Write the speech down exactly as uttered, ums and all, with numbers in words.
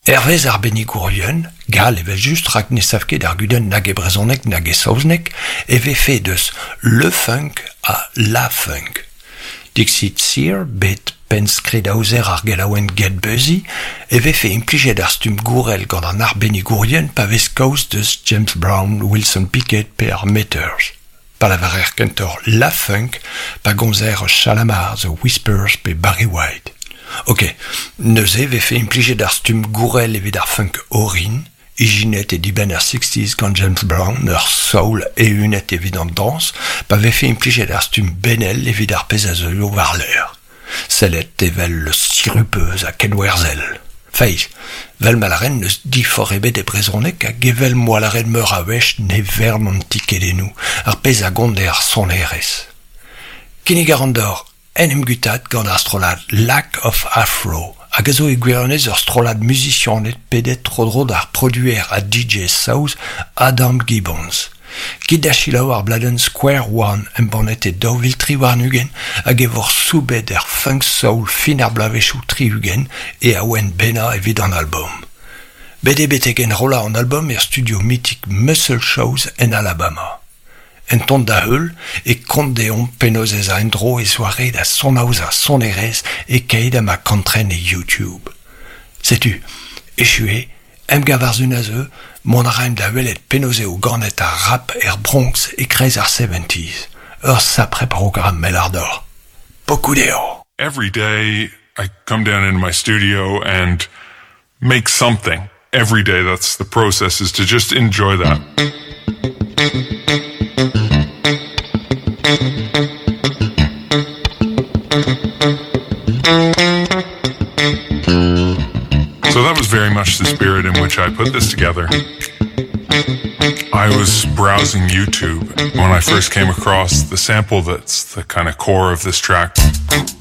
Hervez arbennigourien, gall evel-just rak ne sav ket ar gudenn nag e brezhoneg nag e saozneg, e vefe deus le funk ha la funk. Dixit Sear, bet pennskridaozer ar gelaouenn Get Busy, e vefe implijet ar stumm gourel gant an arbennigourien pa vez kaoz deus James Brown, Wilson Pickett pe ar Meters. Pa lavarer kentoc'h la funk pa gomzer eus Shalamar, The Whispers pe Barry White. Ok, neuze e vefe implijet ar stumm gourel evit ar funk orin, ijinet e dibenn ar sixties gant James Brown, ur soul eeunet evit an dañs, pa vefe implijet ar stumm benel evit ar pezh a zeuio war-lerc'h. Sellet evel sirupeus ha kenwerzhel. Feiz, 'vel ma lâren n'eus diforc'h ebet e brezhoneg hag evel m'oa lâret meur a wech ne vern an tikedennoù, ar pezh a gont eo ar sonerezh. Kinnig a ran deoc'h en em guitaat gant ar strollad Lack of Afro, hag a zo e gwirionez ur strollad muzisianed pedet tro-dro d'ar produer ha D J saoz Adam Gibbons. Kit da selaou ar bladenn Square One embannet e daou vil tri warn-ugent hag e vor soubet er funk soul fin ar bloavezhioù tri-ugent e awen bennañ evit an album. Bet eo betek enrollañ an album er studio mythique Muscle Shoals en Alabama. En ton da heul e kont deomp penaos ez a en-dro e zoare da sonaozañ sonerezh e keit ha ma kantren e YouTube. Setu, echu eo, emgav ar sun a zeu, mont a raimp da welet penaos eo ganet ar rap er Bronx e-kreiz ar seventies. Ur sapre programm mell ar dor. Pokoù dezho. Every day I come down into my studio and make something. Every day, that's the process, is to just enjoy that. So that was very much the spirit in which I put this together. I was browsing YouTube when I first came across the sample that's the kind of core of this track.